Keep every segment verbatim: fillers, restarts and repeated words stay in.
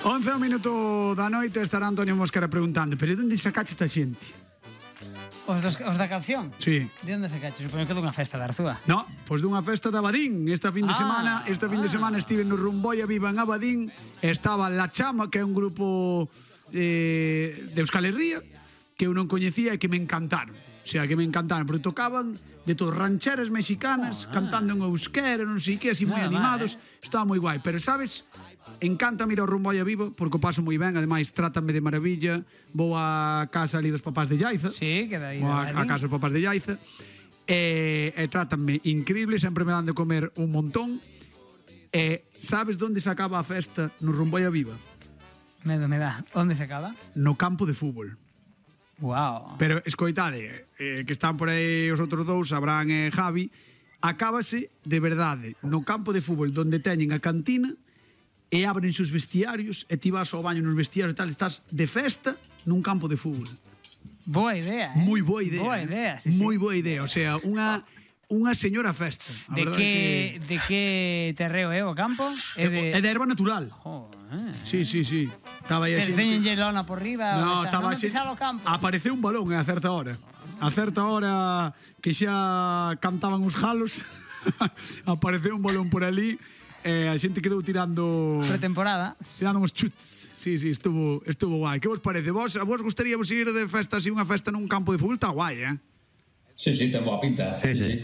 once minuto da noite estará Antonio Mosquera preguntando: pero onde sacache esta xente? Os, dos, os da canción? Sí. De onde sacache? Supoño que dunha festa de Arzúa. No, pois dunha festa de Abadín. Esta fin de Ah, semana Esta fin de ah. semana estive no Rumboia Viva en Abadín. Estaba La Chama, que é un grupo eh, de Euskal Herria, que eu non coñecía e que me encantaron. O sea, que me encantaron, porque tocaban de todas rancheras mexicanas, oh, cantando en euskera, non sei que, así moi Nada animados. mal, eh? Estaba moi guai. Pero, sabes, encanta ir ao Rumboia Vivo, porque o paso moi ben, ademais, trátame de maravilla. Vou á casa ali dos papás de Llaiza. Sí, que dai. Vou á, á casa dos papás de Llaiza. E, e trátanme increíble, sempre me dan de comer un montón. E sabes onde se acaba a festa no Rumboia Viva? Medo me dá. Onde se acaba? No campo de fútbol. Wow. Pero escoitade, eh, que están por aí os outros dous, Abraham e Javi, acábase de verdade no campo de fútbol donde teñen a cantina e abren os vestiarios e ti vas ao baño nos vestiarios e tal, estás de festa nun campo de fútbol. Boa idea, eh? Moi boa idea. Boa idea, sí, Moi sí. boa idea, o sea, unha unha señora festa. A De verdade que, que de que terreo é o campo? É de... é de erva natural. Joder. Sí, sí, sí. Estaba aí a Pero xente- teñen lona por riba. No, o sea, estaba non me xe- pisar o campo. Apareceu un balón a certa hora. A certa hora que xa cantaban os jalos, apareceu un balón por ali e a xente quedou tirando Pretemporada. tirando uns chutes. Sí, sí, estuvo estuvo guai. Que vos parece? Vos a vos gustaríamos ir de festa así unha festa nun campo de fútbol? Está guai, eh? Sí, sí, ten boa pinta. Sí, sí.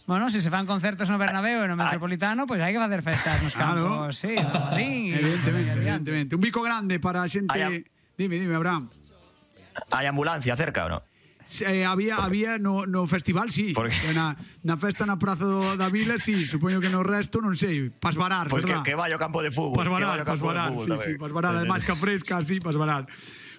Bueno, se se fan concertos no Bernabéu e no Metropolitano, pois pues hai que facer festas nos Claro. campos, sí, no Madrid. Evidentemente, evidentemente. Un bico grande para a xente. Hai a- Dime, dime, Abraham. Hai ambulancia cerca, ou non? Eh, había había no, no festival, sí. Por que? Na, na festa na Praza do, da Vila, sí. Supoño que no resto, non sei. Pas varar, Pois que, verdad? que vai ao campo de fútbol. Pas que varar, vai ao pas campo de varar. fútbol Sí, tamén. sí, pas varar. Además, que fresca, sí, pas varar.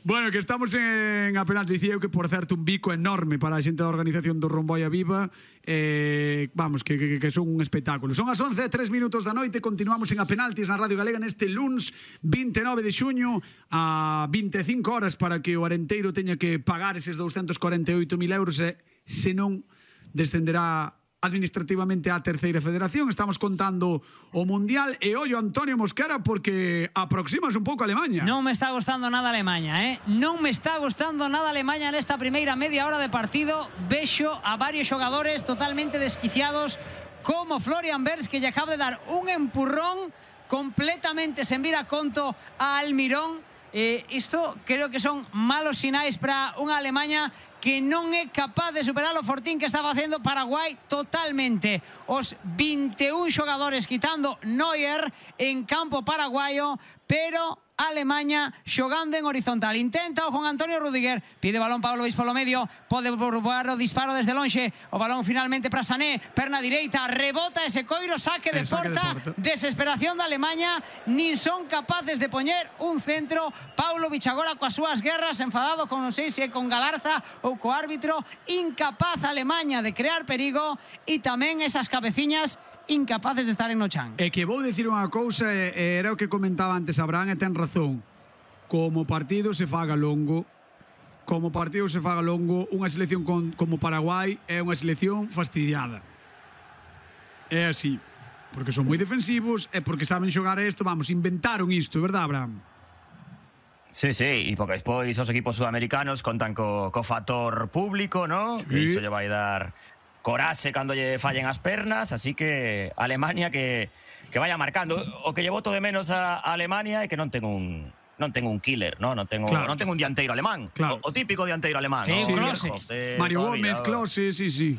Bueno, que estamos en a penalti. Dicía eu que, por certo, un bico enorme para a xente da organización do Rumboia Viva. Eh, vamos, que, que, que son un espectáculo. Son as once e tres minutos da noite. Continuamos en a penaltis na Radio Galega neste luns vinte e nove de xuño a vinte e cinco horas para que o Arenteiro teña que pagar eses doscientos cuarenta e oito mil euros e, senón, descenderá administrativamente á terceira federación. Estamos contando o Mundial e ollo Antonio Mosquera porque aproximas un pouco a Alemanha. Non me está gustando nada Alemanha, eh? Non me está gustando nada Alemanha nesta primeira media hora de partido. Vexo a varios xogadores totalmente desquiciados, como Florian Wirtz, que lle acaba de dar un empurrón completamente sen vir a conto a Almirón. Eh, isto creo que son malos sinais para unha Alemanha que non é capaz de superar o fortín que está facendo Paraguai totalmente. Os vinte e un xogadores quitando Neuer en campo paraguayo, pero Alemanha xogando en horizontal. Intenta o con Antonio Rudiger, pide balón Pavlovic polo medio, pode probar o disparo desde lonxe, o balón finalmente para Sané, perna direita, rebota ese coiro, saque de El saque de porta, porta. desesperación da Alemanha, nin son capaces de poñer un centro. Pavlovic agora coas súas guerras, enfadado con non sei se é con Galarza ou co árbitro, incapaz a Alemanha de crear perigo e tamén esas cabeciñas incapaces de estar en no chan. É que vou dicir unha cousa, e, e era o que comentaba antes Abraham, e ten razón. Como partido se faga longo, como partido se faga longo, unha selección con, como Paraguai é unha selección fastidiada. É así. Porque son moi defensivos e porque saben xogar isto, vamos, inventaron isto, verdad, Abraham? Sí, sí, e porque despois os equipos sudamericanos contan co, co factor público, ¿no? Sí. Que iso lle vai dar coraxe cando lle fallen as pernas, así que Alemania que, que vaya marcando. O que lle boto de menos a, a Alemania é que non ten un non ten un killer, ¿no? Non ten un, Claro. non ten un dianteiro alemán, Claro. o, o típico dianteiro alemán, Sí, ¿no? Klose. Bierhoff, de Mario toda a Gómez, vida. Klose, sí, sí.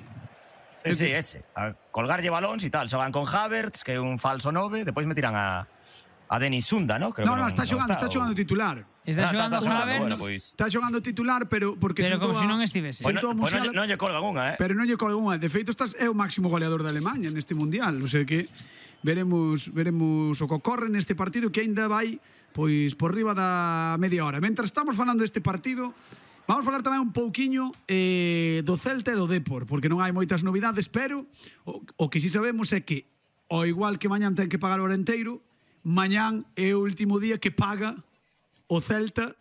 Sí, sí, ese. A colgarlle balóns e tal. Xogan con Havertz, que é un falso nove, depois me tiran a a Denis Sunda, ¿no? Creo No, que no, está xogando, está o- xogando titular. Está Ah, xogando xogando, Havertz, bueno, pois. Está xogando titular, pero porque pero sentou como se a- non estivese. Pois sentou a non, pois non, Musiala- lle- non lle colgan unha, eh? Pero non lle colga unha. De feito, estás é o máximo goleador da Alemanha neste Mundial. O sea que veremos veremos o que ocorre neste partido que aínda vai pois por riba da media hora. Mentras estamos falando deste partido, vamos falar tamén un pouquiño eh, do Celta e do Depor, porque non hai moitas novidades, pero o, o que si sabemos é que, ao igual que mañán ten que pagar o Arenteiro, mañán é o último día que paga o Celta